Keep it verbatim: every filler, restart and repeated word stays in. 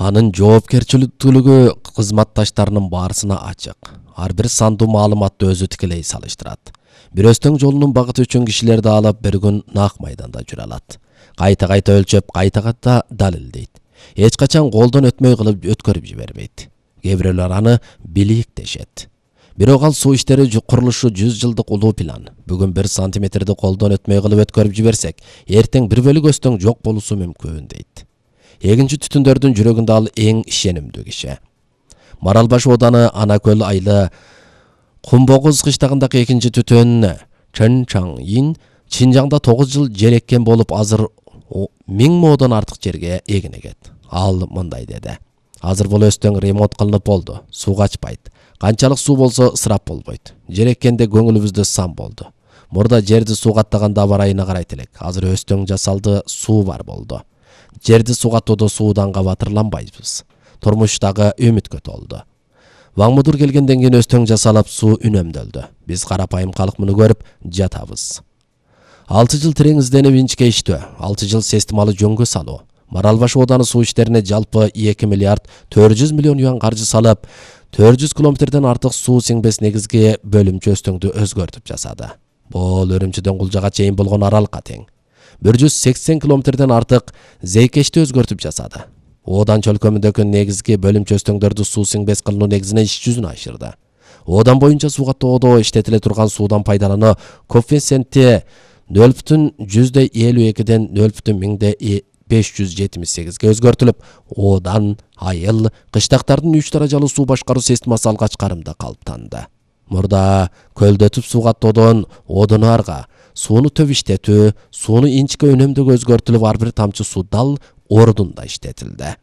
Анын жоопкерчиликтүүлүгү кызматташтарынын баарысына ачык. Ар бир сандуу маалыматты өзү тикелей салыштырат. Бир өстөң жолунун багыты үчүн кишилерди алып бир күн нак майданда жүрө алат. Кайта-кайта өлчөп, кайта-кайта далилдейт. Эч качан колдон өтмөй кылып өткөрүп жибербейт. Кээ бирөөлөр аны билик дешет. Бирок ал суу иштери курулушу жүз жылдык улуу план. Бүгүн бир сантиметрди колдон өтмөй кылып өткөрүп жиберсек, эртең бир бөлүк өстөң жок болуусу мүмкүн дейт. Эгинчи түтүндөрдүн жүрөгүндө ал эң ишенимдүү киши. Маралбаш ооданы Анакөл айылы Кумбогуз кыштагындагы экинчи түтүн Чынчаңин Чинжаңда тогуз жыл жер эккен болуп, азыр миң модон артык жерге эгин эгет. Ал мындай деди: азыр бул өстөң ремонт кылынып болду. Суу качпайт. Канчалык суу болсо ысырап болбойт. Жер эккенде көңүлүбүздө сан болду. Мурда жерди суу каттаганда аба ырайына карайт элек. Азыр өстөң жасалды, суу бар болду. Жерди суу каттоодо сууданга батырланбайбыз. Турмуштагы үмүткө толду. Ваңмудур келгенден кийин өстөң жасалып, суу үнөмдөлдү. Биз карапайым калк муну көрүп жатабыз. алты жыл терең изденип инчкеиштөө, алты жыл системалуу жөнгө салуу. Маралбаш ооданы суу иштерине жалпы эки миллиард төрт жүз миллион юан каржы салып, төрт жүз километрден артык суу сиңбес негизги бөлүмчө өстөңдү өзгөртүп жасады. Бул Өрүмчүдөн Кулжага чейин болгон аралыкка тең. бир жүз сексен километрден артык Зейкешти өзгөртүп жасады. Оодан чөлкөмүндөгү негизги бөлүмчө өстөңдөрдү суу сиңбес кылуу негизине иш жүзүнө ашырды. Оодан боюнча суу каттоодо иштетиле турган суудан пайдалануу коэффициенти нөл бүтүн жүздө элүү экиден нөл бүтүн миңде беш жүз жетимиш сегизге өзгөртүлүп, оодан айыл, кыштактардын үч даражалуу суу башкаруу системасы алгач карымда калыптанды. Мурда көлдөтүп суу каттоодон оодон арга сууну төп иштетүү, сууну инчке үнөмдөөгө өзгөртүлүп, ар бир тамчы суу дал ордунда иштетилди.